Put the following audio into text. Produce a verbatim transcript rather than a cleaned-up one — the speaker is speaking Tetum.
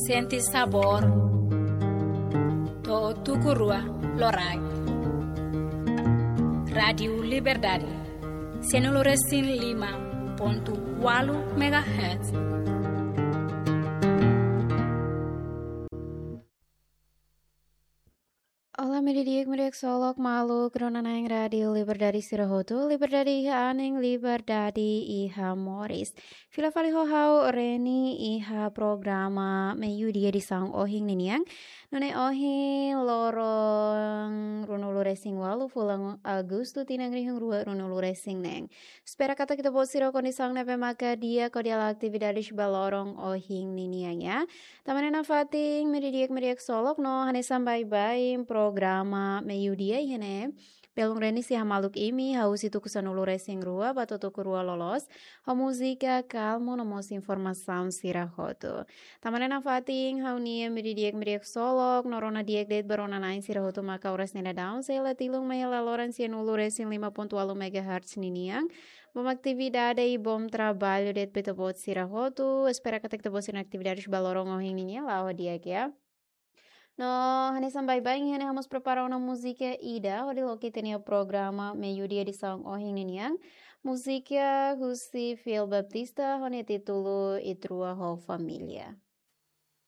Sente sabór. To'o tuku rua loraik. Rádiu Liberdade. Sianulu resin lima pontu ualu megahertz. Olá, media di'ak, media solok, maluk rona-na'in Rádiu Liberdade sira hotu, liberdade iha anin, liberdade iha moris. Fila fali ho ha'u Reni iha programa Meiudia edisaun ohin ninian. Nune'e ohin loron ruanulu resin ualu fulan Agostu tinan rihun rua ruanulu resin neen. Espera katak ita-boot sira kondisaun ne'ebé maka di'ak hodi halo atividades ba loron ohin ninian, ya. Tanba ne'e nafatin, media di'ak, media solok, no hanesan baibain programa Meiudia iha ne'e, belun Reni sei hamaluk imi, hahú husi tuku sanulu resin rua ba to'o tuku rua loloos, ho múzika kalmu no mós informasaun sira hotu. Tanba ne'e nafatin, ha'u-nia media di'ak, media solok, no rona di'ak de'it ba rona-na'in sira hotu maka oras ne'e daudaun sei la tilun mai hela loron sianulu resin lima pontu ualu megahertz ninian. Bom atividade i bom traballu de'it ba ita-boot sira hotu. Espera katak ita-boot sira-nia atividades ba loron ohin ninian la'o di'ak, ya. No, hanesan baibain iha ne'e ha'u mós prepara ona múzika ida hodi loke ita-nia programa Meiudia edisaun ohin ninian. Múzika husi Fiel Baptista ho nia títulu Ita-Rua ho Família.